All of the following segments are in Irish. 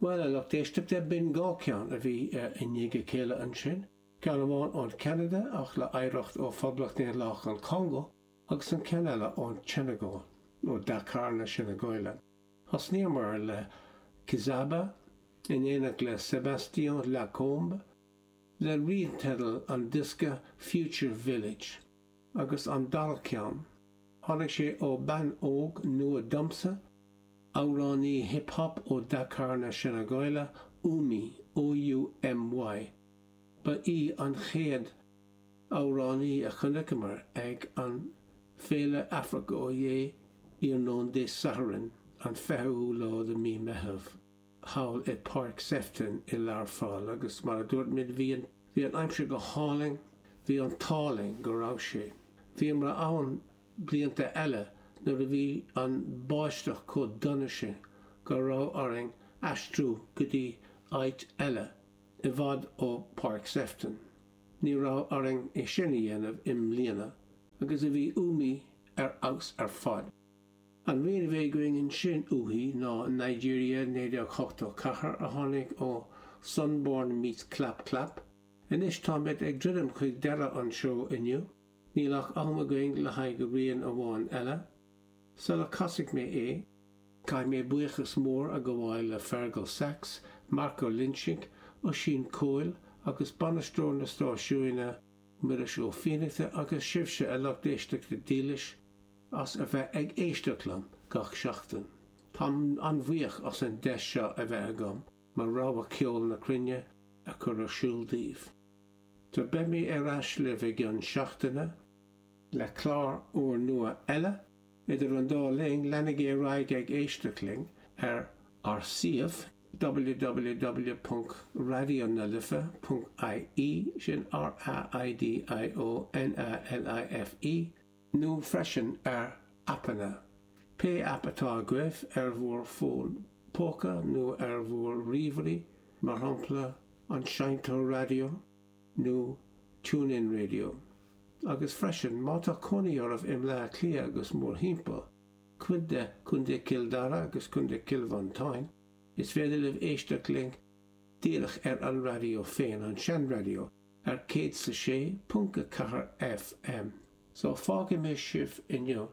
Bhuel, a lucht éisteachta, b'in 2 ceann a bhí i ndiaidh a chéile ansin, ceann amháin ón Cheanada ach le hoidhreacht ó Phoblacht Daonlathach an Chongó agus an ceann eile ón tSeineagáil, ó Dakar na Seineagáile. Thosnaíomar le Kizaba in éineacht le Sébastien Lacombe le rianteideal an diosca Future Village agus an dara ceann, tháinig sé ó bean óg nua domsa, amhránaí hip hop ó Dakar na Seineagáile, Oumy, O-U-M-Y. Ba í an chéad amhránaí a chonaiceamar ag an Féile Afraic Ó Yeah iarnóin Dé Sathairn an 20ú lá de mí Meitheamh thall i Páirc Sefton i Learpholl agus mar a dúirt muid bhí an bhí an aimsir go hálainn, bhí an t-ádh linn go raibh sé. Bhíomar ann blianta eile nuair a bhí an báisteach chomh dona sin go raibh orainn aistriú go dtí áit eile i bhfad ó Páirc Sefton. Ní raibh orainn é sin a dhéanamh i mbliana agus a bhí Oumy ar fheabhas ar fad. An rian a bhí againn ansin uaithi ná Nigeria 1984 a tháinig ó Sunborn Meets Clap Clap. Anois táimid ag druidim chuig deireadh an seó inniu. Níl ach am againn le haghaidh rian amháin eile. Sula casfaidh mé é, caithfidh mé buíochas mór a ghabháil le Fergal Sachs, Mark Ó Loinsigh, Oisín Cóil agus bainisteoir na stáisiúine, Muiris Ó Fiannachta agus sibhse a lucht éisteachta dílis as a bheith ag éisteacht liom gach seachtain. Táim an-bhuíoch as an deis seo a bheith agam mo rogha ceol na cruinne a chur ar siúl daoibh. So beidh mé ar ais libh i gcionn seachtaine le clár úrnua eile. Idir an dá linn, leanaigí ar aghaidh ag éisteacht linn ar ár suíomh www.raidionalife.ie, sin R-A-I-D-I-O-N-A-L-I-F-E, nó freisin ar aipeanna, pé aip atá agaibh ar bhur bhfón póca nó ar bhur ríomhairí, mar shampla an Seinnteoir Raidió nó TuneIn Radio. Agus freisin, má tá cónaí oraibh i mBleá Cliath agus mórthimpeall, cuid de Chontae Chill Dara agus Contae Chill Mhantáin, is féidir libh éisteacht linn díreach ar an raidió féin, an sean-raidió, ar 106.4 FM. So, fágfaidh mé sibh inniu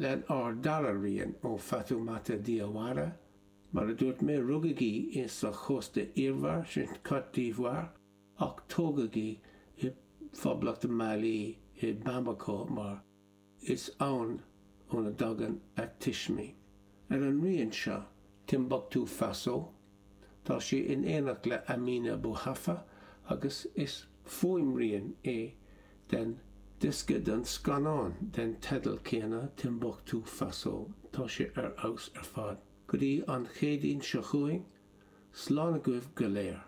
lenár dara rian ó Fatoumata Diawara, Mar a dúirt mé, rugadh í i sa Chósta Iarmhar, sin Côte d'Ivoire, ach tógadh í i bPoblacht Mailí i Bamako mar is ann óna dtagann a tuismí. Ar an rian seo, Timbuktu Faso, tá sí in éineacht le Amina Bouhafa agus is fuaimrian é den diosca den scannán den teideal céanna, Timbuktu Faso. Tá sé ar fheabhas ar fad. Go dtí an Chéadaoin seo chugainn, slán agaibh go léir.